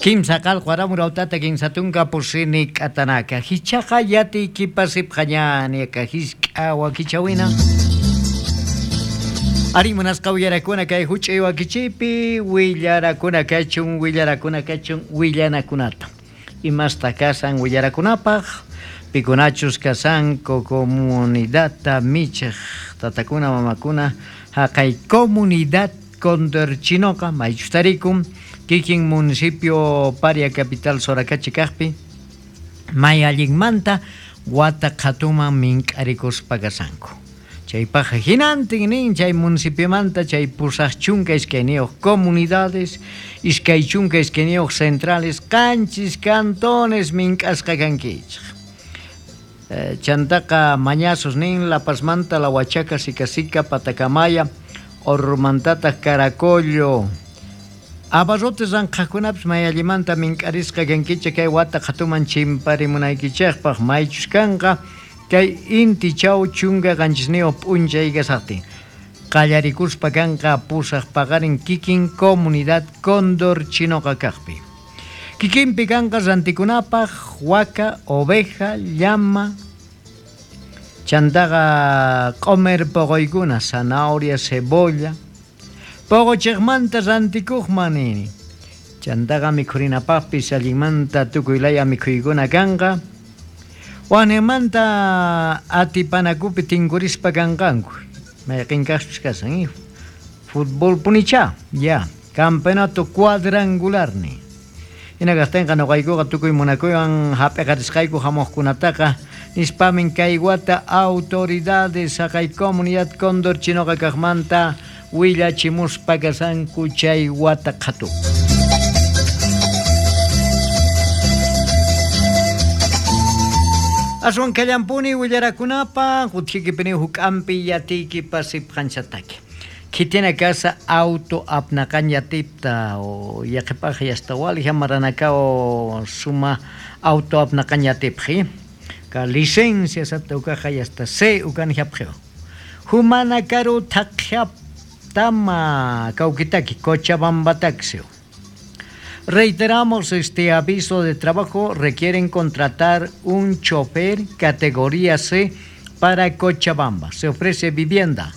Kimsa qalqu aramurautata kinsatunka pusini k'atanaka hichaqa yatiykipa sipqañaniaka hisk'a wakichawina. Ari munasqa willarakuna kay huch'uy wakichiypi willarakuna kachun willarakuna kachun willanakunata. Imasta kasan willarakunapaq pikunachus kasanku comunidadta michiq tatakuna mamakuna haqay comunidad Condorchinoqa maychus tarikun kikin municipio Paria capital Soracachi kaqpi may allinmanta wata qhatuman mink'arikuspa kasanku. Chaypaq hinantin nin chay municipiomanta chay 82 comunidades, 22 centrales, 7 cantones mink'asqa kankichik. Chantaqa mañazos nin La Pazmanta, La Huachaca, Sica Sica, Patacamaya, Ormantataq Caracollo. Abarrotes ranqhaqkunapis may allimanta mink'arisqa kankichik kay wata qhatuman chimparimunaykichikpaq maychus kanqa kay inti chaw 17 p'unchay kasaqtin. Qallarikuspa kanqa 8 paqarin kikin comunidad Cóndor Chinoqa kaqpi. Kikinpi kanqa rantikunapaq waka, oveja, llama, chantaqa q'omer poqoykuna, zanahoria, cebolla, poqochiqmanta rantikuqman nini. Chantaqa mikhurinapaqpis allinmanta tukuy laya mikhuykuna kanqa. Wanimanta atipanakupi tinkurispa kanqanku. Mayqin kaqpis kasan, Fútbol punicha, ya, campeonato cuadrangular ni. Hina kaqtinqa nuqaykuqa tukuy munakuywan hap'iqarisqayku hamuqkunataqa nispamin kay wata autoridades haqay comunidad Cóndor Chinoqa kaqmanta willachimuspa kasanku chay wata qhatu. Aswan kallampuni willarakunapaq utjikipini huk'ampi yatiykipa sipqanchataki. Khitina kasa auto apnaqan yatipta o yaqipaq yastawali hamaranakao suma auto apnaqan yatipji. Ka licencia sapta ukaja yasta C ukan japjeo. Humana karu taqjaptama kaukitaki Cochabambataxio. Reiteramos este aviso de trabajo, requieren contratar un chofer categoría C para Cochabamba. Se ofrece vivienda.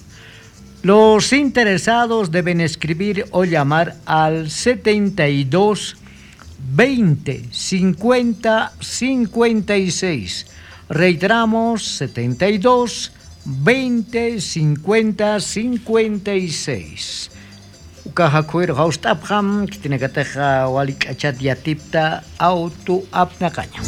Los interesados deben escribir o llamar al 72 20 50 56. Reiteramos, 72 20 50 56. Ukaja kuir haustapjam, kitinakateja walik'achat yatipta auto apnaqaña.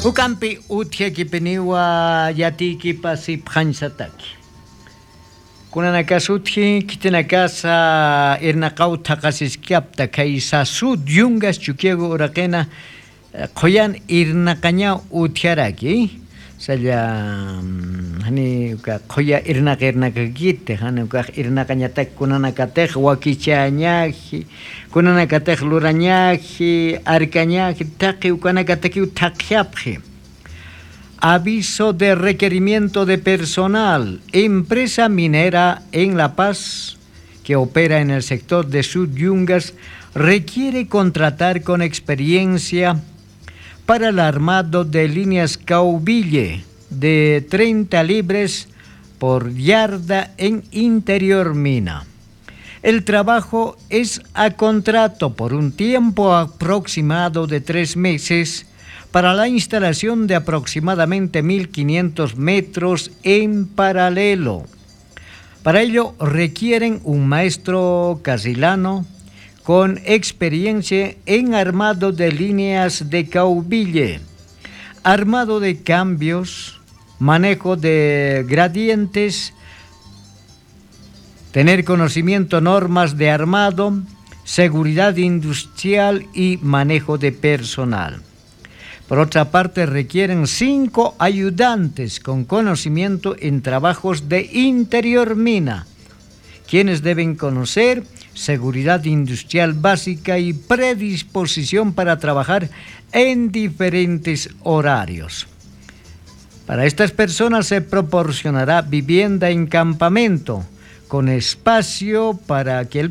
Ukampi utjiakipiniwa yatikipa sipjansataki. Kunanakas utji, kitinakasa irnaqaw thaqasiskiapta kay sasud yungas chukiego uraqena qoyan irnaqaña utjiaraki. Salla hani uka qoya irnaqa irnaqakite, hani uka irnaqañatak kunanakatej wakichañaji, kunanakatej lurañaji, arcañaji, taqi ukanakataki taqjiapji. Aviso de requerimiento de personal. Empresa minera en La Paz que opera en el sector de Sud Yungas requiere contratar con experiencia para el armado de líneas caubille de 30 libres por yarda en interior mina. El trabajo es a contrato por un tiempo aproximado de 3 meses para la instalación de aproximadamente 1.500 metros en paralelo. Para ello requieren un maestro casilano con experiencia en armado de líneas de caubille, armado de cambios, manejo de gradientes, tener conocimiento normas de armado, seguridad industrial y manejo de personal. Por otra parte, requieren 5 ayudantes con conocimiento en trabajos de interior mina, quienes deben conocer seguridad industrial básica y predisposición para trabajar en diferentes horarios. Para estas personas se proporcionará vivienda en campamento, con espacio para que el